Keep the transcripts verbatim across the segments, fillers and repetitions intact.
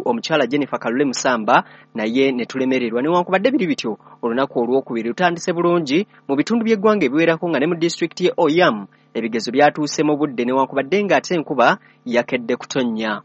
UNEB omukyala Jennifer Kalule Musamba naye ne tulemererwa. Newankubadde biri bityo, olunaku olwokubiri lutandise bulungi mu bitundu by'eggwanga ebiwerako, nga ne mu disitulikiti ye Oyam ebigezo byatuuse mu budde newankubadde ng'ate enkuba yakedde kutonnya.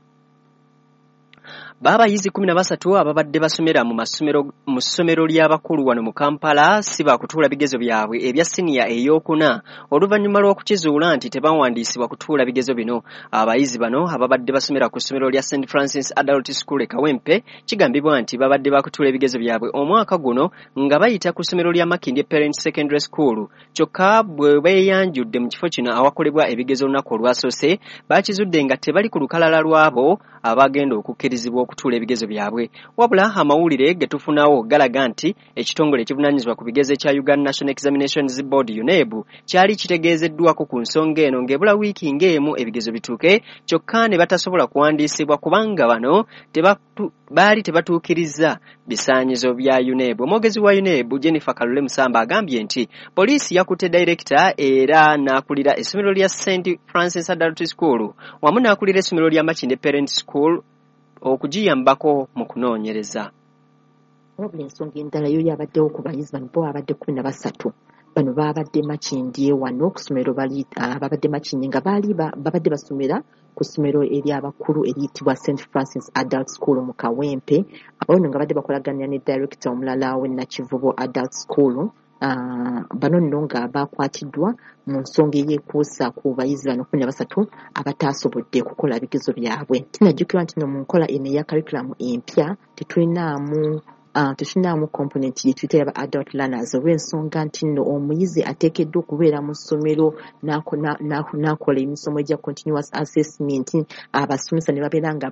Baabayizi kumi na basatu ababadde basomera mu masomero mu ssomero ly'abakulu wano mu Kampala si baakutuula bigezo byabwe ebya siniya ey'okuna oluvannyuma lw'okukizuula nti tebawandiisibwa kutuula bigezo bino. Abayizi bano ababadde basomera ku ssomero lya Saint Francis Adult School e Kawempe kigambibwa nti babadde bakutuula ebigezo byabwe omwaka guno nga bayita ku ssomero lya Makindye Parent Secondary School. Kyokka bwe beeyanjudde mu kifo kino awakolebwa ebigezo olunaku olwasoose, bakizudde nga tebali ku lukalala lw'abo abagenda okukkirizibwa okutuula ebigezo byabwe. Wabula amawulire ge tufunawo galaga nti ekitongole ekivunaanyizibwa ku bigezo ekya Uganda National Examinations Board UNEB kyali kitegeezeddwako ku nsonga eno ng'ebula wiiki ng'emu ebigezo bituuke, kyokka ne batasobola kuwandiisibwa kubanga bano tebatu, baali tebatuukiriza bisaanyizo bya UNEB. Omwogezi wa UNEB Jennifer Kalule Musamba agambye nti poliisi yakutte director era n'akulira essomero lya Saint Francis Adult School wamu n'akulira essomero lya Makindye Parent School okugiyambako mu kunoonyereza. Wabula ensonga endala yo yabaddewo ku bayizi bano, bo babadde kumi na basatu. Bano babadde Makindye wano ku ssomero, bali babadde Makindye nga baali babadde basomera ku ssomero ery'abakulu eriyitibwa Saint Francis Adult School mu Kawempe. Abo nno nga badde bakolaganira ne director omulala w'e Nakivubo Adult School. Uh, bano nno nga bakwatiddwa mu nsonga eyeekuusa ku bayizi bano kumi na basatu abataasobodde kukola bigezo byabwe. Kinajjukirwa nti no mu nkola eno eya curriculum empya tetulinaamu Uh, tetulinaamu component gye tuyita yaba adult learners, olw'ensonga nti nno omuyizi ateekeddwa okubeera mu ssomero n'akola emisomo egya continuous assessment, abasomesa ne babeera nga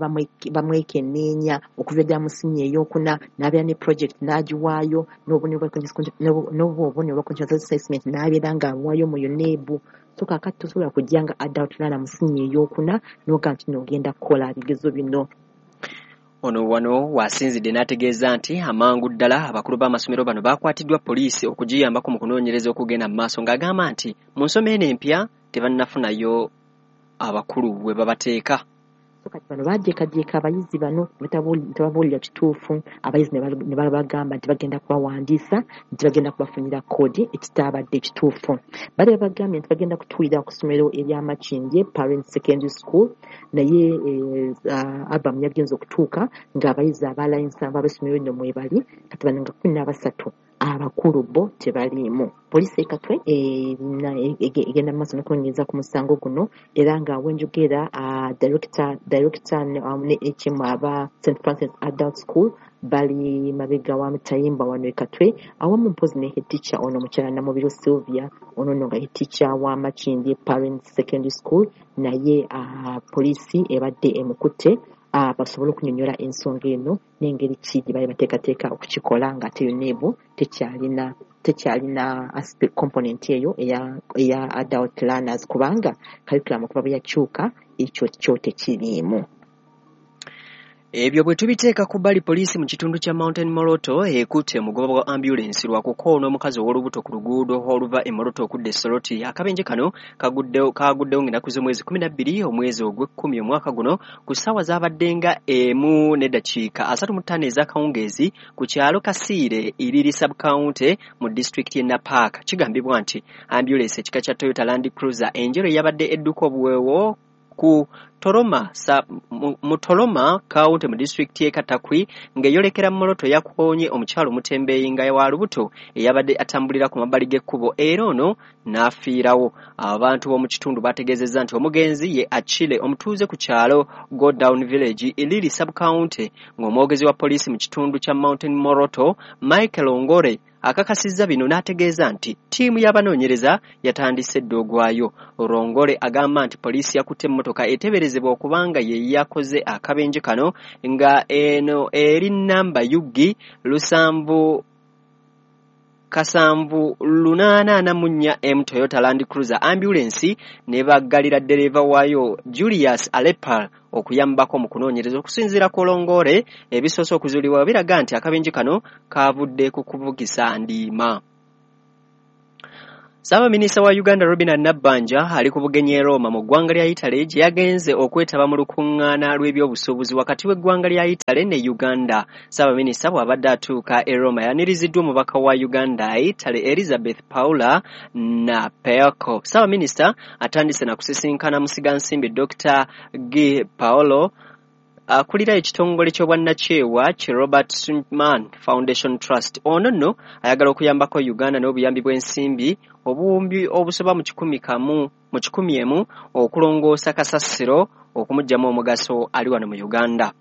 bamwekenneenya okuva ddala mu siniya ey'okuna, n'abeera ne project n'agiwaayo, n'obubonero bwa continuous assessment n'abeera ng'abuwaayo mu UNEB. So kaakati tosobola kujja nga adult learner mu siniya ey'okuna n'ogamba nti nno ogenda kukola bigezo bino. Ono wano wasinzidde n'ategeeza nti amangu ddala abakulu b'amasomero bano bakwatiddwa poliisi okugiyambako mu kunoonyereza okugenda mu maaso, ng'agamba nti mu nsoma eno empya tebannafunayo abakulu we babateeka. So kati bano bajeekajeeka abayizi bano tebabuulira kituufu, abayizi ne babagamba nti bagenda kubawandiisa, nti bagenda kubafunira koodi, ekitaabadde kituufu. Bali babagambye nti bagenda kutuulira ku ssomero erya Makindye Parent Secondary School, naye albamu yagenze okutuuka ng'abayizi abalala ensanvu ab'essomero lino mwebali, kati bano nga kumi na basatu abakulu bo tebaliimu. Poliisi e Katwe egenda mu maaso n'okunoonyereza ku musango guno, era nga wenjogera director director ne H M aba Saint Francis Adult School bali mabega wa Mutayimba wano e Katwe, awamu mpozi ne head teacher ono mukyala Namubiro Sylvia, ono nno nga head teacher wa Makindye Parent Secondary School, naye poliisi ebadde emukutte basobole okunyonnyola ensonga eno n'engeri ki gye bali bateekateeka okukikola ng'ate UNEB tekyalina tekyalina aspect component eyo eya eya adult learners, kubanga curriculum okuva bwe yakyuka ekyo kyo tekiriimu. Ebyo bwe tubiteeka ku bbali, poliisi mu kitundu kya Mountain Moroto ekutte omugoba wa ambulensi lwa kukoona omukazi ow'olubuto ku luguudo oluva e Moroto okudda e Soroti. Akabenje kano kaguddewo kaguddewo ng'ennaku z'omwezi kumi na bbiri omwezi ogw'ekkumi omwaka guno ku ssaawa zaabadde nga emu n'eddakiika asatu mu ttaano ez'akawungeezi ku kyalo Kasiire Iriri sub-county mu disitulikiti y'e Napaaka. Kigambibwa nti ambulensi ekika kya Toyota Land Cruiser enjeru eyabadde edduka obuweewo ku Toroma sa mu Toroma county mu disitulikiti y'e Katakwi ng'eyolekera Moroto yakoonye omukyalo omutembeeyi nga wa lubuto eyabadde atambulira ku mabbali g'ekkubo era ono n'afiirawo. Abantu b'omu kitundu bategeezezza nti omugenzi ye Achille omutuuze ku kyalo Go Down Village Iriri sub-county, ng'omwogezi wa poliisi mu kitundu kya Mountain Moroto Michael Ongore akakasizza bino n'ategeeza nti ttiimu y'abanoonyereza yatandise dda ogwayo. Rongore agamba nti poliisi yakutte emmotoka eteeberezebwa okubanga ye yakoze akabenje kano nga eno eri namba U G lusanvu kasanvu lunaana ana mu nnya M Toyota Land Cruiser ambulance ne baggalira ddereeva waayo Julius Alepal okuyambako mu kunoonyereza. Okusinziira ku Rongore, ebisoose okuzuulibwa biraga nti akabenje kano kavudde ku kuvugisa ndiima. Ssaabaminisita wa Uganda Robinah Nabbanja ali ku bugenyi e Roma mu ggwanga lya Italy gye yagenze okwetaba mu lukuŋŋaana lw'ebyobusuubuzi wakati w'eggwanga lya Italy ne Uganda. Ssaabaminisita bw'abadde atuuka e Roma yaniriziddwa omubaka wa Uganda e Italy Elizabeth Paula Napelco. Ssaabaminisita atandise na kusisinkana musigansimbi Dokita G Paolo akulira ekitongole ky'obwannakyewa ki Robert Schuman Foundation Trust. Ono nno ayagala okuyambako Uganda n'obuyambi bw'ensimbi obuwumbi obusoba mu kikumi kamu mu kikumi emu okulongoosa kasasiro okumuggyamu omugaso ali wano mu Uganda.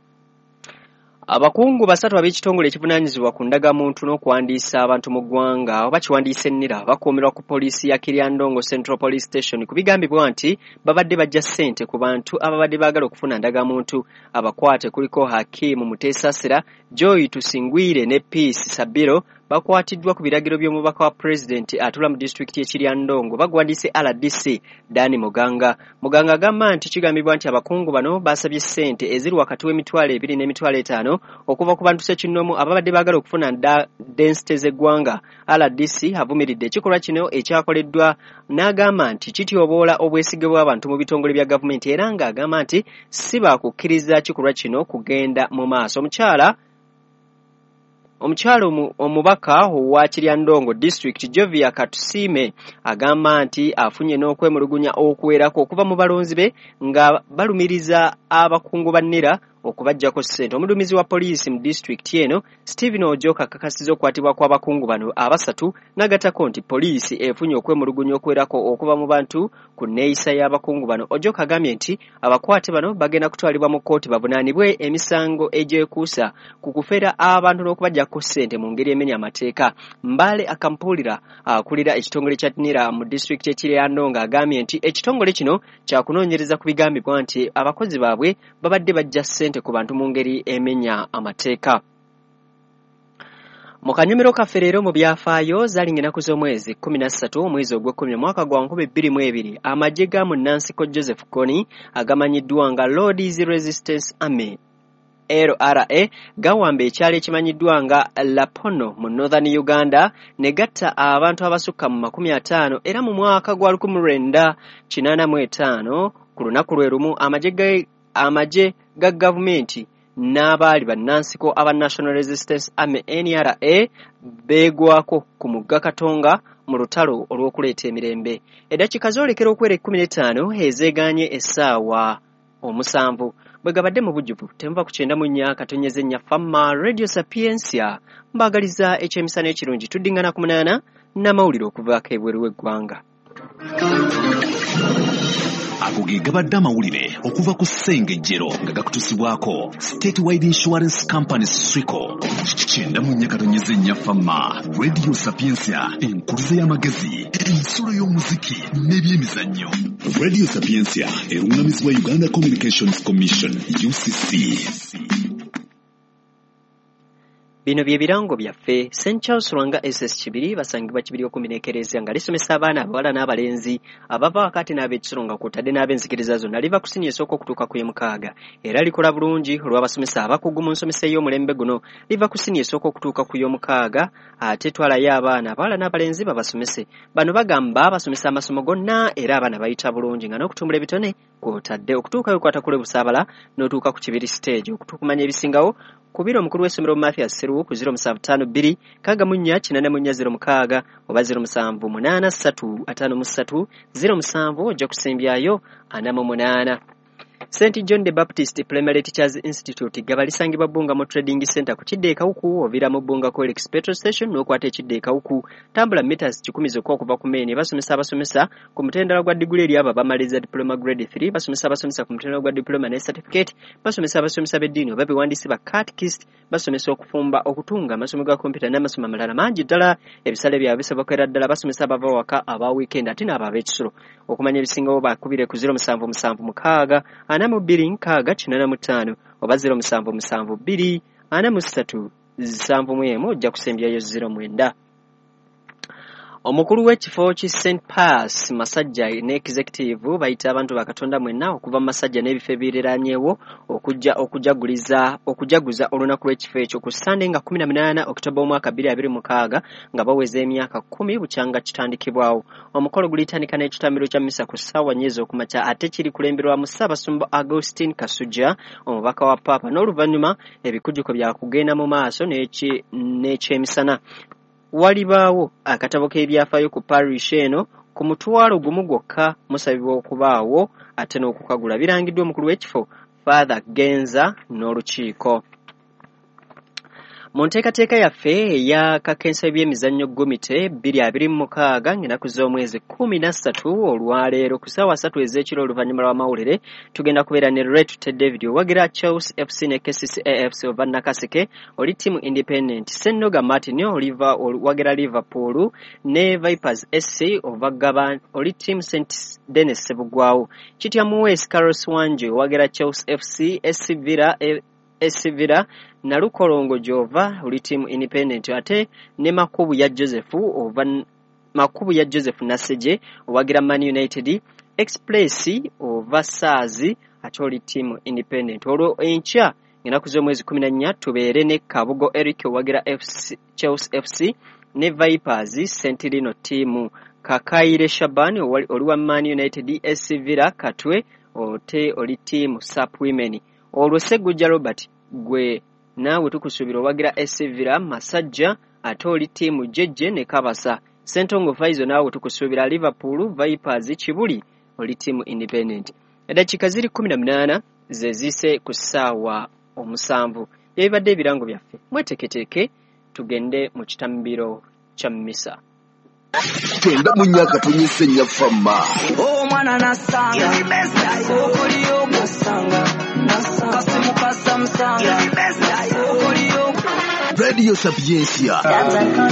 Abakungu basatu ab'ekitongole ekivunaanyizibwa ku ndagamuntu n'okuwandiisa abantu mu ggwanga oba kiwandiisa ennira bakuumirwa ku poliisi ya Kiryandongo Central Police Station ku bigambibwa nti babadde bajja ssente ku bantu ababadde baagala okufuna ndagamuntu. Abakwate kuliko Hakimu Muteesasira, Joy Tusingwire ne Peace Sabiro bakwatiddwa ku biragiro by'omubaka wa pulezidenti atula mu disitulikiti y'e Kiryandongo bagwandiise R D C Dani Muganga. Muganga agamba nti kigambibwa nti abakungu bano basabye ssente eziri wakati w'emitwalo ebiri n'emitwalo etaano okuva ku bantu ssekinnoomu ababadde baagala okufuna densite z'eggwanga. R D C avumiridde ekikolwa kino ekyakoleddwa n'agamba nti kityoboola obwesige bw'abantu mu bitongole bya gavumenti era ng'agamba nti si baakukkiriza kikolwa kino kugenda mu maaso. Omukyala Omukyala omubaka owa Kiryandongo District Jovia Katusime agamba nti afunye n'okwemulugunya okuwerako okuva mu balonzi be nga balumiriza abakungu ba NIRA okubaggyako ssente. Omuduumizi wa poliisi mu disitulikiti eno Stephen Ojoka akakasizza okukwatibwa kw'abakungu bano abasatu n'agattako nti poliisi efunye okwemulugunya okuwerako okuva mu bantu ku nneeyisa y'abakungu bano. Ojoka agambye nti abakwate bano bagenda kutwalibwa mu kkooti bavunaanibwe emisango egyekuusa ku kufera abantu n'okubaggyako ssente mu ngeri emenya amateeka. Mbale Akampulira akulira ekitongole kya NIRA mu disitulikiti y'e Kiryandongo agambye nti ekitongole kino kyakunoonyereza ku bigambibwa nti abakozi baabwe babadde bajja ssente ku bantu mu ngeri emenya amateeka. Mu kanyumiro kaffe leero mu byafaayo zaalinga ennaku z'omwezi kkumi na ssatu omwezi ogw'ekkumi omwaka gwa nkumi bbiri mu ebiri amagye ga munnansi Joseph Kony agamanyiddwa nga Lord's Resistance Army L R A gawamba ekyalo ekimanyiddwa nga Lapono mu Northern Uganda ne gatta abantu abasukka mu makumi ataano era mu mwaka gwa lukumi lwenda kinaana mu etaano ku lunaku lwe lumu amagye amagye ga gavumenti n'abaali bannansiko aba National Resistance Army N R A beegwako ku mugga Katonga mu lutalo olw'okuleeta emirembe. Eddakiika zoolekera okwera ekkumi n'ettaano ezeegaanye essaawa omusanvu. Bwe gabadde mu bujjuvu temuva ku kyenda mu nnya katonyeze nnya Fama Radio Sapientia mbaagaliza ekyemisana ekirungi. Tuddingana ku munaana n'amawulire okuvaako ebweru w'eggwanga. Ago ge gabadde amawulire okuva ku Ssengejjero nga gakutusibwako Statewide Insurance Company Swico. Kyenda mu nnya katonyeze nnya Fama Radio Sapientia, enkuluze y'amagezi, ensulo y'omuziki n'ebyemizannyo. Radio Sapientia erungamizibwa Uganda Communications Commission U C C. Bino bye birango byaffe. Saint Charles Lwanga S S Kibiri basangibwa Kibiri okumpi n'ekereziya nga lisomesa abaana abawala n'abalenzi abava wakati n'ab'ekisolo nga kw'otadde n'ab'enzikiriza zonna. Liva ku siniya esooka okutuuka ku y'omukaaga era likola bulungi olw'abasomesa abakugu mu nsomesa ey'omulembe guno. Liva ku siniya esooka okutuuka ku y'omukaaga ate twalayo abaana abawala n'abalenzi babasomese. Bano bagamba basomesa amasomo gonna era abaana bayita bulungi nga n'okutumbula ebitone kw'otadde okutuukayo kwata kule Busaabala n'otuuka ku Kibiri stage. Okutukumanya ebisingawo kubira omukulu w'essomero Mathias Seruwu ku ziro musanvu ttaano bbiri nkaaga mu nnya kinaana mu nnya ziro mukaaga oba ziro musanvu munaana ssatu ataano mu ssatu ziro musanvu ojja kusembyayo ana mu munaana. Saint John the Baptist Primary Teachers Institute gaba lisangibwa Bbunga mu Trading Center ku kidde e Kawuku oviira mu Bbunga Colex Petrol Station n'okwata ekidde e Kawuku. Tambula meters kikumi zokka okuva ku main. Basomesa abasomesa ku mutendera gwa diguli eri abo abamaliriza diploma grade three, basomesa abasomesa ku mutendera gwa diploma ne certificate, basomesa abasomesa b'eddiini oba bewandiisi ba catechist, basomesa okufumba, okutunga, amasomo ga kompyuta n'amasomo amalala mangi ddala. Ebisale byabwe bisobokera ddala. Basomesa abava waka aba weekend ate n'abo ab'ekisulo. Okumanya ebisingawo bakubire ku ziro musanvu musanvu mukaaga ana mu bbiri nkaaga kinaana mu ttaano oba ziro musanvu musanvu bbiri ana mu ssatu nsanvu mu emu ojja kusembyayo ziro mwenda. Omukulu w'ekifo ki Saint Pius Masajja ne executive bayita abantu ba Katonda mwenna okuva mu Masajja n'ebifo ebiriraanyeewo okujja okujaguliza okujaguza olunaku lw'ekifo ekyo ku Ssande nga kkumi na munaana Okitoba omwaka bbiri abiri mukaaga nga baweza emyaka kkumi bukyanga kitandikibwawo. Omukolo gulitandika n'ekitambiro kya mmisa ku ssaawa nnya ez'okumakya ate kiri kulemberwamu Ssaabasumba Augustine Kasujja omubaka wa Paapa, n'oluvannyuma ebikujjuko bya kugenda mu maaso n'ekyemisana. Walibaawo akatabo k'ebyafaayo ku parish eno ku mutwalo gumu gwokka musabibwa okubaawo ate n'okukagula. Birangiddwa omukulu w'ekifo Father Genza n'olukiiko. Mu nteekateeka yaffe eya kakensa by'emizannyo gomite bbiri abiri mu mukaaga ng'ennaku z'omwezi kkumi na ssatu olwaleero ku ssaawa ssatu ez'ekiro oluvannyuma lw'amawulire tugenda kubeera ne Retute David owagira Chelsea F C ne K C C A F C ova Nakaseke oli ttiimu Independent, Ssennoga Martin oliva owagira Liverpool ne Vipers S C ova Gaba oli ttiimu Saint Denis Ssebugwawo, Kitya Muweesi Carlos Wanje owagira Chelsea F C, S C Villa S C Villa Nalukolongo gy'ova oli ttiimu Independent, ate ne Makubu ya Joseph ova Makubu ya Joseph Nasseje owagira Man United, Express ova Saazi ate oli ttiimu Independent. Olwo enkya ennaku z'omwezi kkumi na nnya tubeere ne Kabugo Eric owagira F C, Chelsea F C ne Vipers Sentinel ttiimu, Kakaire Shaban oli wa Man United, S C Villa Katwe ote oli ttiimu Sap Women. Olwo Ssegujja Robert gwe naawe tukusuubira owagira S C Villa Masajja ate oli ttiimu Jejje ne Kabasa. Ssentongo Faizo naawe tukusuubira Liverpool Vipers Kibuli oli ttiimu Independent. Eddakiika ziri kkumi na munaana ze ziyise ku ssaawa omusanvu. Byebibadde ebirango byaffe, mweteeketeeke tugende mu kitambiro kya mmisa. Tenda mu myaka tonyese nnyafamma. Omwana nasanga okoliyo nasanga kasimu kasamusanga okoliyo. Radio Sapientia.